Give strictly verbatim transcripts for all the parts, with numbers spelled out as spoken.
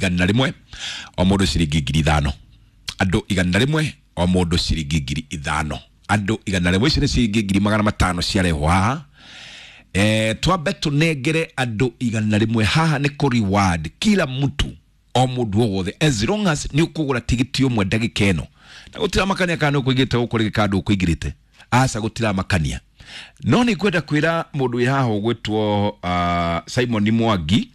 Igana rĩmwe o mũndũ ciringi ngiri ithano. Andũ igana rĩmwe o mũndũ ciringi ngiri ithano. Andũ igana rĩmwe, icio nĩ ciringi ngiri magana matano ciarehwo haha. Eh, twambe tunengere andũ igana rĩmwe haha nĩ kũ reward kila mtu, o mũndũ o wothe, as long as nĩ ũkũgũra tigiti ũmwe ndagĩka ĩno. Na gũtiramakania kana nĩ ũkũingĩrĩte gũkũ rĩngĩ kana ndũkũingĩrĩte, aca, gũtiramakania. No nĩ ngwenda kwĩra mũndũ wĩ haha ũgwĩtwo uh, Simon Mwangi.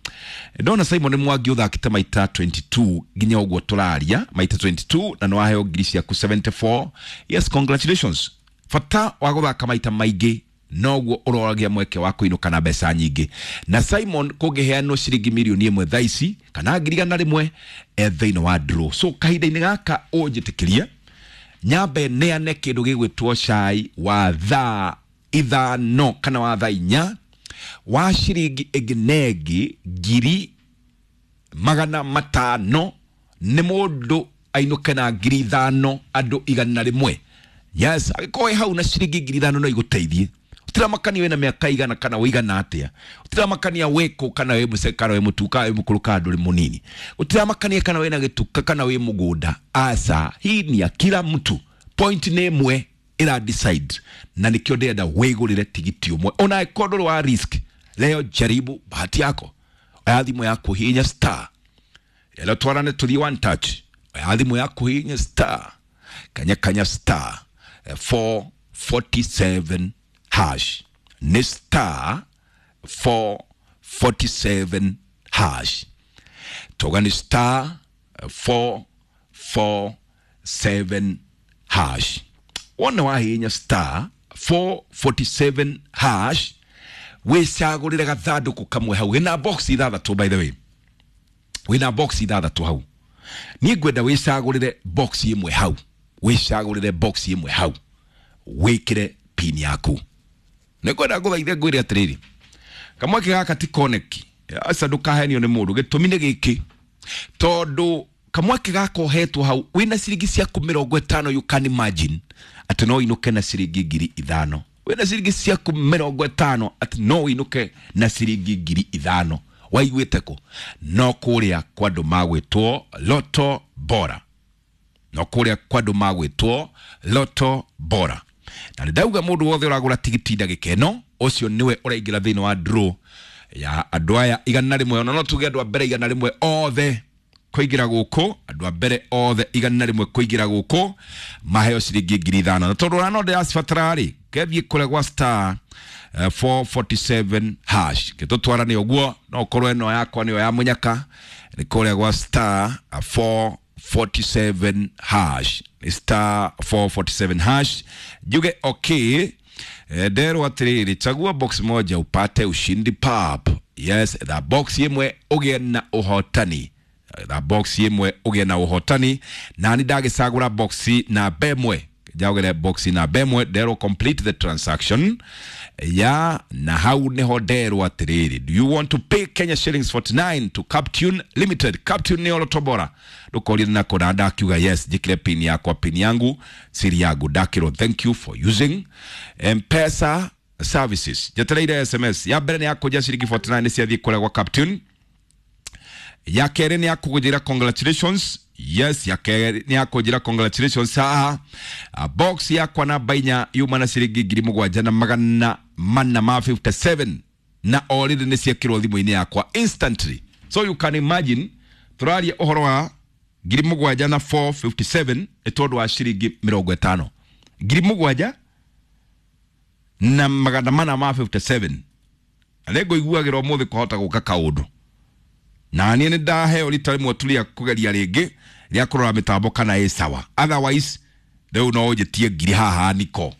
Ndona Simon Mwangi ũthakĩte maita mĩrongo ĩrĩ na igĩrĩ nginya ũguo tũraria, maita mĩrongo ĩrĩ na igĩrĩ, na nĩ waheo ngiri ciaku mĩrongo mũgwanja na inya. Yes, congratulations. Bata wa gũthaka maita maingĩ noguo ũroragia mweke wa kũinũka na mbeca nyingĩ. Na Simon kũngĩheanwo ciringi mirioni ĩmwe thaa ici kana ngiri igana rĩmwe, e thĩinĩ wa draw. So kahinda-inĩ gaka ũnjĩtĩkĩrie nyambe neane kĩndũ gĩgwĩtwo cai wa thaa ithano kana wa thaa inya wa ciringi ĩngĩ na ĩngĩ ngiri magana matano, nĩ mũndũ ainũke na ngiri ithano, andũ igana rĩmwe. Yes, angĩkorwo wĩ hau na ciringi ngiri ithano no igũteithie, ũtiramakania wĩna mĩaka igana kana wĩigana atĩa, ũtiramakania wĩkũ, kana wĩ mũce kana wĩ mũtu kana wĩ mũkũrũ kana ndũrĩ mũnini, ũtiramakania kana wĩna gĩtuka kana wĩ mũgũnda, aca, hii ni ya kila mtu. Point nĩ ĩmwe ĩra decide, na nĩkĩo ndĩrenda wĩgũrĩre tigiti ũmwe ona angĩkorwo ndũrĩ wa risk. Leo jaribu bahati yako. Oya thimũ yaku, hihinya star ĩno, twarane tũthiĩ one touch. Oya thimũ yaku, hihinya star kanya kanya star eh, four forty-seven hash. Nĩ star four forty-seven hash. Toga nĩ star eh, four four seven hash. Wona wahihinya star four forty-seven hash, wĩcagũrĩre gathandũkũ kamwe hau. Wĩna box ithathatũ, by the way, wĩna box ithathatũ hau. Niĩ ngwenda wĩcagũrĩre box ĩmwe hau, wĩcagũrĩre box ĩmwe hau, wĩkĩre pin yaku. Nĩ ngwenda ngũthaithe ngwĩre atĩrĩrĩ, kamweke gaka ti koneki, aca, ndũkahenio nĩ mũndũ. Gĩtũmi nĩ gĩkĩ, tondũ kamweke gaka ũhetwo hau wĩna ciringi ciaku mĩrongo ĩtano, you can imagine atĩ no ũinũke na ciringi ngiri ithano. Wĩna ciringi ciaku mĩrongo ĩtano atĩ no ũinũke na ciringi ngiri ithano, waiguĩte kũ? No kũrĩa kwa andũ magwĩtwo Loto Bora, no kũrĩa kwa andũ magwĩtwo Loto Bora. Na nĩ ndauga mũndũ wothe ũragũra tigiti ndagĩka ĩno, ũcio nĩwe ũraingĩra thĩinĩ wa draw ya andũ aya igana rĩmwe. Ona no tuge andũ a mbere igana rĩmwe othe kũingĩra gũkũ, andũ a mbere othe igana rĩmwe kũingĩra gũkũ maheo ciringi ngiri ithano. Na tondũ ona no ndĩracibatara rĩ, kethiĩ kũrĩa gwa star eh, four forty-seven hash, gĩtũtwarane ũguo. No ũkorwo ĩno yakwa nĩyo ya mũnyaka. Nĩ kũrĩa gwa star eh, four forty-seven hash. Nĩ star four forty-seven hash. Njuge okay. Eh, nderwo atĩrĩrĩ, chagua box moja upate ushindi pap. Yes, the box ĩmwe ũgĩe na ũhotani, the box ĩmwe ũgĩe na ũhotani. Na nĩ ndagĩcagũra box namba ĩmwe, njagũre box namba ĩmwe. Nderwo complete the transaction ya, na hau niho nderwo atĩrĩrĩ, do you want to pay Kenya shillings forty-nine to Captune Limited? Captune nĩ Lotto Bora. Ndũkorire nako na ndakiuga yes, njĩkĩre pin yakwa, pin yangu, siri yangu. Ndakĩrwo thank you for using M-Pesa services. Njetereire S M S ya mbere nĩ yakũnja ciringi mĩrongo ĩna na inya nĩ ciathiĩ kũrĩa gwa Captune. Ya kerĩ nĩ yakũnjĩra congratulations. Yes, ya kerĩ nĩ yakũnjĩra congratulations haha. Ah, box yakwa namba inya yuma na ciringi ngiri mũgwanja na magana mana ma mĩrongo ĩtano na mũgwanja, na already nĩ ciekĩrwo thimũ-inĩ yakwa instantly. So you can imagine, tũraria ũhoro wa ngiri mũgwanja na four fifty-seven nĩ tondũ wa ciringi mĩrongo ĩtano, ngiri mũgwanja na magana mana ma mĩrongo ĩtano na mũgwanja. Na nĩ ngũiguagĩra ũmũthĩ kũhota gũka kaũndũ, na niĩ nĩ ndaheo rita rĩmwe tu rĩa kũgeria rĩngĩ rĩa kũrora mĩtambo kana ĩ sawa. Otherwise rĩu no ũnjĩtie ngiri haha niko.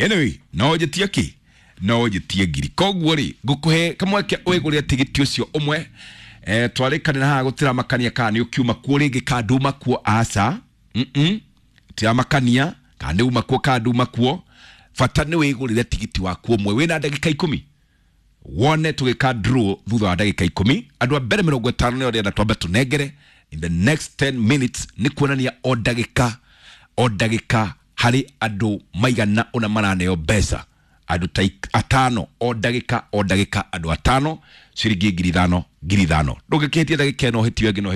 Anyway, no ũnjĩtie kĩ, no ũnjĩtie ngiri. Koguo rĩ, ngũkũhe kamweke wĩgũrĩre tigiti ũcio ũmwe. eh, twarĩkanĩra haha gũtiramakania kana nĩ ũkiuma kuo rĩngĩ kana nduma kuo, aca, mm tiramakania kana nĩ uma kuo kana nduma kuo. Bata nĩ wĩgũrĩre tigiti waku ũmwe. Wĩna ndagĩka ikũmi wone tũgĩka draw thutha wa ndagĩka ikũmi. Andũ a mbere mĩrongo ĩtano nĩo ndĩrenda twambe tũnengere in the next ten minutes. Nĩ kuonania o ndagĩka o ndagĩka harĩ andũ maigana ũna maraneo mbeca, andũ ta ik- atano o ndagĩka o ndagĩka, andũ atano. Ciringi ngiri ithano ngiri ithano. Ndũngĩkĩhĩtia ndagĩka ĩno, ũhĩtio ĩngĩ no.